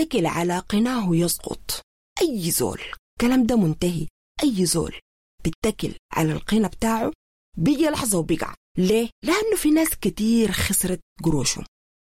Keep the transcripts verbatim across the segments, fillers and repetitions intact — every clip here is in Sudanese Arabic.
يتكل على قناه يسقط. أي زول، كلام ده منتهي، أي زول بيتكل على القنا بتاعه بيجي لحظة وبيقع. ليه؟ لأنه في ناس كتير خسرت قروشهم،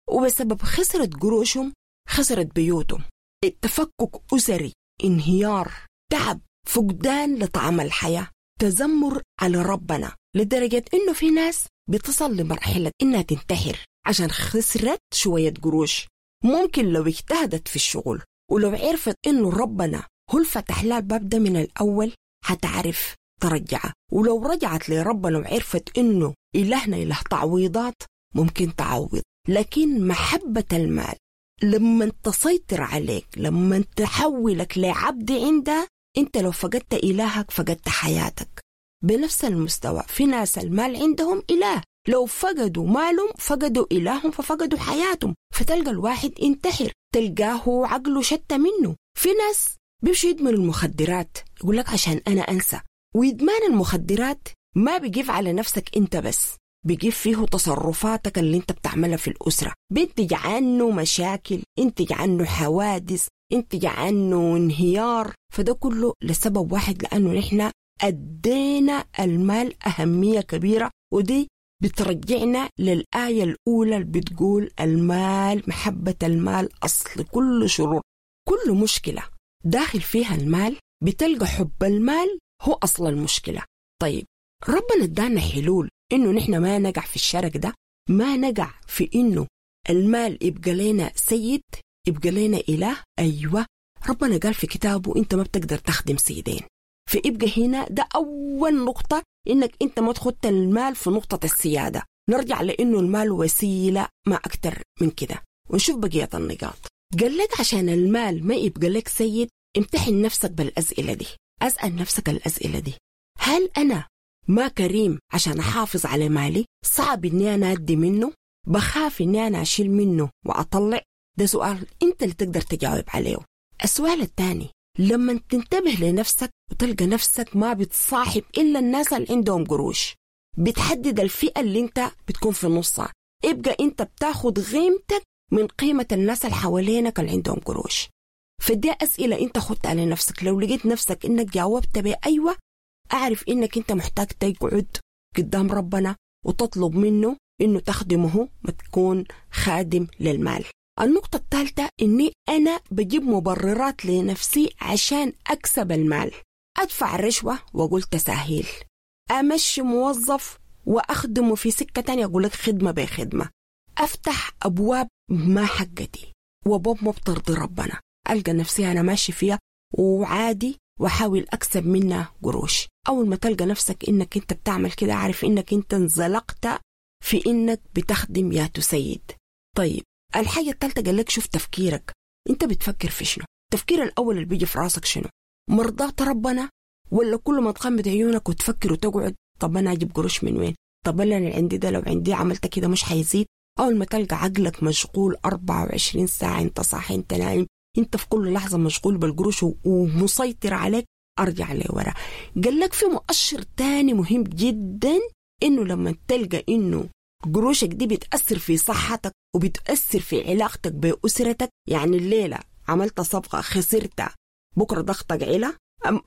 وبسبب خسرت قروشهم خسرت بيوتهم، التفكك أسري، انهيار، تعب، فقدان لطعم الحياة، تذمر على ربنا، لدرجة إنه في ناس بتصل لمرحلة إنها تنتحر عشان خسرت شوية قروش. ممكن لو اجتهدت في الشغل ولو عرفت إنه ربنا هو اللي فتح لها الباب ده من الأول هتعرف ترجعها، ولو رجعت لربنا وعرفت إنه إلهنا إله تعويضات ممكن تعوض. لكن محبة المال لما تسيطر عليك، لما تحولك لعبد عندها، انت لو فقدت إلهك فقدت حياتك. بنفس المستوى في ناس المال عندهم إله، لو فقدوا مالهم فقدوا إلههم ففقدوا حياتهم، فتلقى الواحد انتحر، تلقاه عقله شتى منه. في ناس بيمشوا يدمنوا المخدرات، يقول لك عشان أنا أنسى. وإدمان المخدرات ما بيجيف على نفسك أنت بس، بيجيب فيه تصرفاتك اللي انت بتعملها في الأسرة، بينتج عنه مشاكل، ينتج عنه حوادث، ينتج عنه انهيار. فده كله لسبب واحد، لأنه نحن أدينا المال أهمية كبيرة، ودي بترجعنا للآية الأولى اللي بتقول المال، محبة المال أصل كل شرور. كل مشكلة داخل فيها المال بتلقى حب المال هو أصل المشكلة. طيب ربنا ادانا حلول إنه نحن ما نقع في الشرك ده، ما نقع في إنه المال يبقى لنا سيد، يبقى لنا إله. أيوة، ربنا قال في كتابه أنت ما بتقدر تخدم سيدين. فيبقى هنا ده أول نقطة، إنك أنت ما تخط المال في نقطة السيادة. نرجع لإنه المال وسيلة ما أكتر من كده، ونشوف بقية النقاط. قال لك عشان المال ما يبقى لك سيد، امتحن نفسك بالأسئلة دي. أسأل نفسك الأسئلة دي: هل أنا ما كريم عشان أحافظ على مالي؟ صعب إني أنا أدي منه؟ بخاف إني أنا أشيل منه وأطلع؟ ده سؤال أنت اللي تقدر تجاوب عليه. السؤال الثاني، لما تنتبه لنفسك وتلقى نفسك ما بتصاحب إلا الناس اللي عندهم قروش، بتحدد الفئة اللي أنت بتكون في نصها، يبقى أنت بتاخد قيمتك من قيمة الناس اللي حوالينك اللي عندهم قروش. فدي أسئلة أنت خدتها على نفسك. لو لقيت نفسك إنك جاوبت بأيوة، أعرف إنك أنت محتاج تقعد قدام ربنا وتطلب منه إنه تخدمه، ما تكون خادم للمال. النقطة الثالثة، إني أنا بجيب مبررات لنفسي عشان أكسب المال. أدفع رشوة وأقول تساهيل، أمشي موظف وأخدمه في سكة تانية أقول لك خدمة بخدمة، أفتح أبواب ما حقتي وأبواب ما بترضي ربنا، ألقى نفسي أنا ماشي فيها وعادي وأحاول أكسب منها قروش. أول ما تلقى نفسك إنك أنت بتعمل كده، عارف إنك أنت انزلقت في إنك بتخدم يا تسيد. طيب الحاجة الثالثة قال لك شوف تفكيرك، أنت بتفكر في شنو؟ التفكير الأول اللي بيجي في راسك شنو؟ مرضات ربنا، ولا كل ما تغمض عيونك وتفكر وتقعد طب أنا أجيب قروش من وين؟ طب أنا اللي عندي ده لو عندي عملت كده مش حيزيد؟ أول ما تلقى عقلك مشغول أربعة وعشرين ساعة، أنت صاحي أنت نايم، أنت في كل لحظة مشغول بالقروش ومسيطر عليك، أرجع لورا. قال لك في مؤشر تاني مهم جدا، إنه لما تلقى إنه قروشك دي بتأثر في صحتك وبتأثر في علاقتك بأسرتك، يعني الليلة عملت صفقة خسرتها، بكرة ضغطك علا،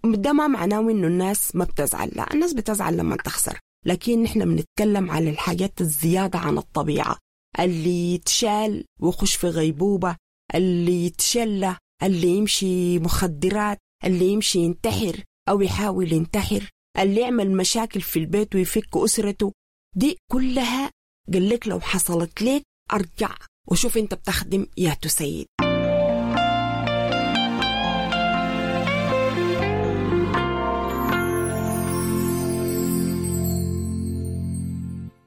ده ما معناه إنه الناس ما بتزعل، لا الناس بتزعل لما تخسر، لكن نحن بنتكلم على الحاجات الزيادة عن الطبيعة، اللي يتشال ويخش في غيبوبة، اللي يتشلى، اللي يمشي مخدرات، اللي يمشي ينتحر أو يحاول ينتحر، اللي يعمل مشاكل في البيت ويفك أسرته، دي كلها قال لك لو حصلت لك أرجع وشوف أنت بتخدم يا تسيد.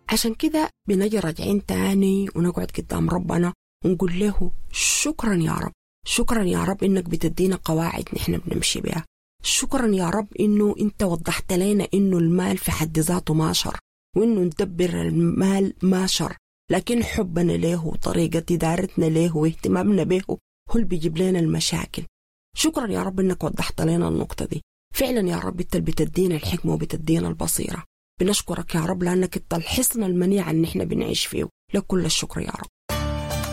عشان كده بنجي راجعين تاني ونقعد قدام ربنا ونقول له شكرا يا رب، شكرا يا رب إنك بتدينا قواعد نحن بنمشي بها، شكرا يا رب إنه أنت وضحت لنا إنه المال في حد ذاته ما شر، وإنه ندبر المال ما شر، لكن حبنا له وطريقة إدارتنا له واهتمامنا به هو اللي بيجيب لنا المشاكل. شكرا يا رب إنك وضحت لنا النقطة دي. فعلا يا رب أنت اللي بتدينا الحكمة وبتدينا البصيرة. بنشكرك يا رب لأنك أنت الحصن المنيع اللي نحن بنعيش فيه، لك كل الشكر يا رب.